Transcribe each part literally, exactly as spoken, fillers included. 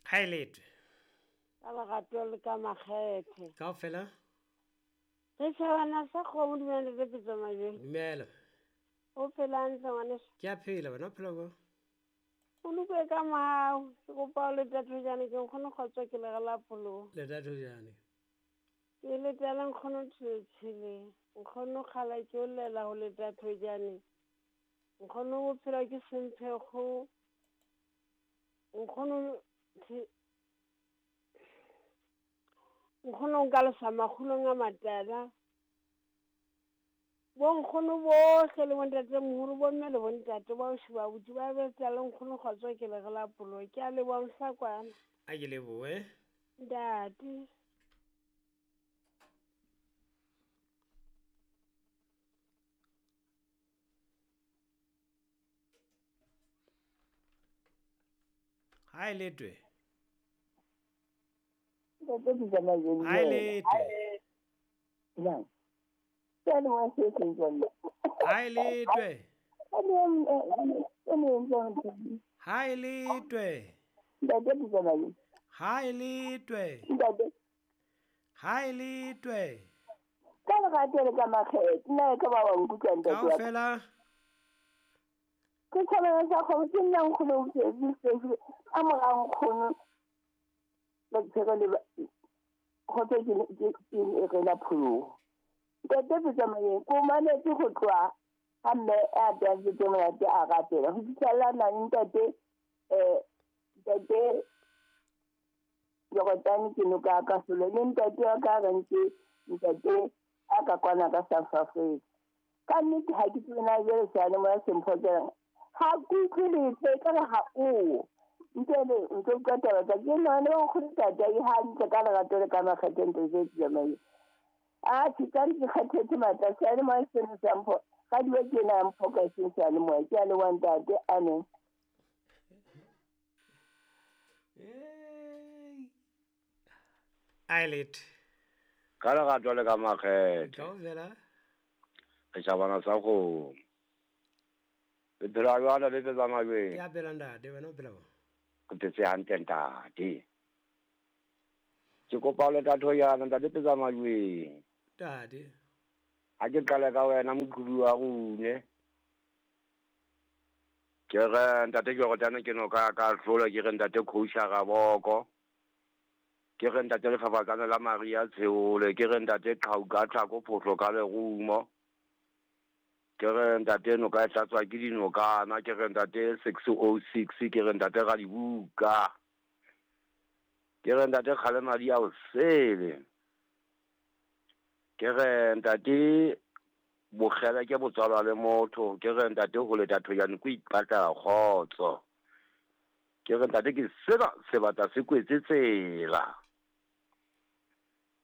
Ha e letwe. Ka lerato le ka makgethe. Kaofela. Re tjhabana sa kgomo dumela le Pitso Majweng. Dumela. O phela hantle ngwaneso? Ke a phela wena o phela jwang? O lokwe ka mohau. Ke kopa o leta thojane ke nkgono kgotso ke lere la pholoho. Leta thojane. Ke letela nkgono Tshetshele. Nkgono kgala ke o llela ho leta thojane. Nkgono bophelo ke semphekgo. Nkgono nkgono nka lesa makgulong a matala. Bo nkgono bohle le bontatemoholo, bomme le bontate ba ausi ba abuti ba betsa le nkgono kgotso ke lere la pholoho. Ke a leboha mohlakwana. A ke lebohe. Ntate. Ha e letwe. Ntate Pitso Majweng. Ha e letwe. Jang. Ke le wa se seng jwale. Ha e letwe. Ha e letwe. Ntate Pitso Majweng. Ha e letwe. Ntate. Ha e letwe. Ka lerato le ka makgethe, nna e ka ba wa nkutlwa ntate wa ka. Kaofela. Ke thabela sa kgomo ke nna nkgono o phetse a mora nkgono ba tshego le kgotso ke ke re la pholoho. Ntate Pitso Majweng ko mametse ho tloha ha mme a tantse monate a rapela ho fihlella nane ntate eh ntate Jordan ke noka ka solo le ntate wa ka reng ke ntate a ka kwana ka South Africa. Ka nnete ha ke tsebe na jwale seyalemoya se mphoqelang. Ha ke utlwe letho ekare ha o. Ntele ntse utlwa taba tsa ke nahane ba nkgono ntate a hantle ka lerato le ka makgethe ntate Pitso Majweng. A ke ka ke kgathetse matla seyalemoya sena se a mpho radio ke ena ya mphoqa eseng seyalemoya. Ke a leboha ntate. Amen. A e letwe. Ka lerato le ka makgethe. Kaofela. Re tjhabana sa kgomo. Le phela jwang le Pitso Majweng? Ke a phela ntate, wena o phela jwang? Ke phetse hantle ntate. Ke kopa o leta thojana ntate Pitso Majweng. Ntate. Ha ke qale ka wena moqhubi wa rune. Ke re ntate Jordan ke noka ka hlola ke re ntate Khousha Raboko. Ke re ntate Lefafatsane la Maria Tsheole, ke re ntate Qhau ka tlhako phohlo ka lerumo. Ke re ntate noka e tlatswa ke dinokana, ke re ntate six oh six, ke re ntate Radibuka. Ke re ntate Kgalemadi a o sele. Ke re ntate Bokgele ke botswalwa le motho, ke re ntate ho leta thojane ko ipatla kgotso. Ke re ntate ke sena sebata se kwetse tsela.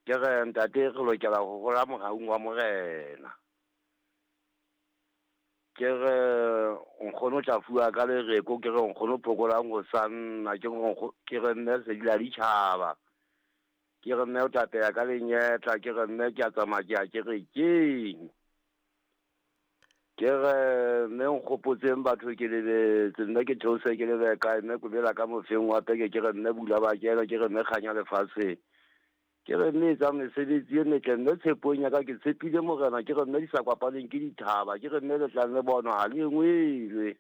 Ke re ntate re lokela ho hola mohaung wa morena. Ke re nkgono tla fuwa ka lereko, ke re nkgono phokolang ho sanna, ke re ke re mme sedila ditjhaba. Ke re mme o tapeya ka lenyetla, ke re mme ke a tsamaya ke ya kerekeng. Ke re mme nkgopotseng batho ke lebetse, mme ke theose ke lebe kae, mme kobela ka mofeng wa peke, ke re mme bula ba kena, ke re mme kganya lefatsheng. Ke re mme etsa mesebetsi e metle, mme tshepong ya ka ke tshepile morena, ke re mme di sa kwapaneng ke dithaba, ke re mme le tlang le bonwa ha le engwelwe.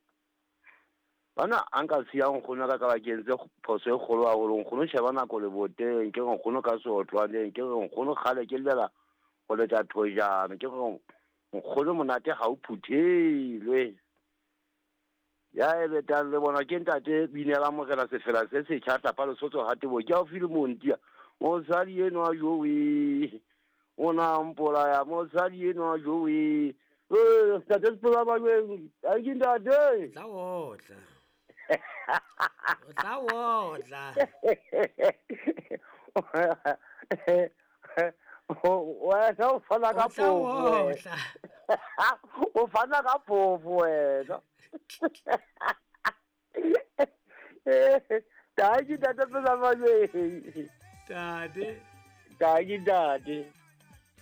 Bana a nka siya nkgono ka ka ba ke entse phoso e kgolo haholo, nkgono sheba nako leboteng, ke re nkgono ka seotlwaneng, ke re nkgono kgale ke llela ho leta thojana, ke re nkgono monate ha o phuthelwe. Ya e betang le bona ke ntate binela morena sefela se setjha tlapa Lesotho ha tebo ke haufi le Montia. Mosadi enwa jowe o na mpolaya, mosadi enwa jowe. Eh, ntate Pitso Majweng, a ke ntate. Tla otla. O tla otla. Wena o fana ka phofo. O fana ka phofo wena. Thank you, Ntate Pitso Majweng. Ntate. Thank you, Ntate.